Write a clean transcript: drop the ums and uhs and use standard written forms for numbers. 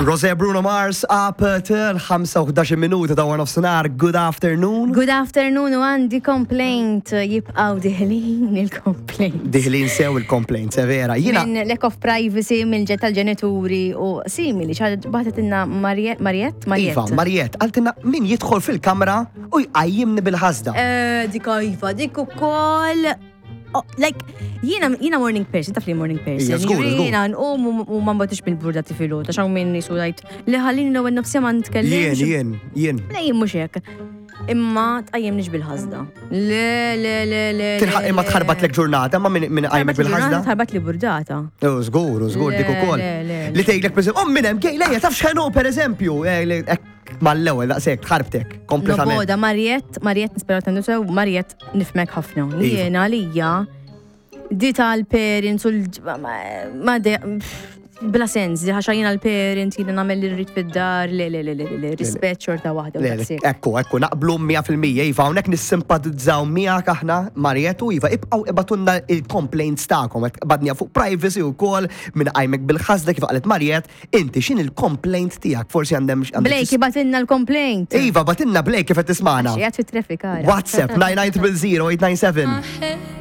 Rosé Bruno Mars up till 5 minuta ta' warnof senar. Good afternoon. Good afternoon u għandi complaint jibqaw diħlin il-complaint. Diħlin sew il-complaint, vera. Jina. Minn lack of privacy mill-ġet tal-ġenituri u simili. ċaħat baħtetinna Mariette, Mariette? Iva, Mariette, għaltinna min jidħol fil-kamra u jqajjimni bil-ħasda. Eh, dik iva, dik ukoll Oh, like, jiena jiena morning person, taf li morning person. Jiena nqum u ma nbatix bil-burda tifilu, ta' xaw minn jisu għajt li ħallini l-ewwel nofsija ma nitkellimx. Jien, jien, jien. Le jien mhux hekk. Imma tqajjimniex bil-ħasda. Le, le, le, le. Imma tħarbat lek ġurnata, ma minn qajmek bil-ħasda? Tħarbat li burdata. Oh, żgur, żgur dik ukoll. Li tgħidlek per oh minn hemm gejlejja taf x'ħenu pereżempju, eh, mal-ewwel daqshekk tħarbtek kompletament. Noboda Mariette, Mariette nispera tendu sew, Mariette nifmek ħafna. Iva. Jiena għalija di tal-parents u ma bla sens, di ħaxa jiena l-parent, jiena nagħmel li rrid fid-dar, le, le, le, le, le, rispett xorta waħda. Ekku, ekku, naqblu 100% Iva, hawnhekk nissimpatizzaw miegħek aħna, Marietu, Iva, ibqgħu ibatunna il-complaints tagħkom, badnija fuq privacy wkoll minn qajmek bil-ħasda kif qalet Mariet, Inti x'in il-complaint tiegħek? Forsi għandem Blake ibatilna l-complaint. Iva, batilna Blake kif qed tismana. Qiegħed fit-traffic WhatsApp 990 897.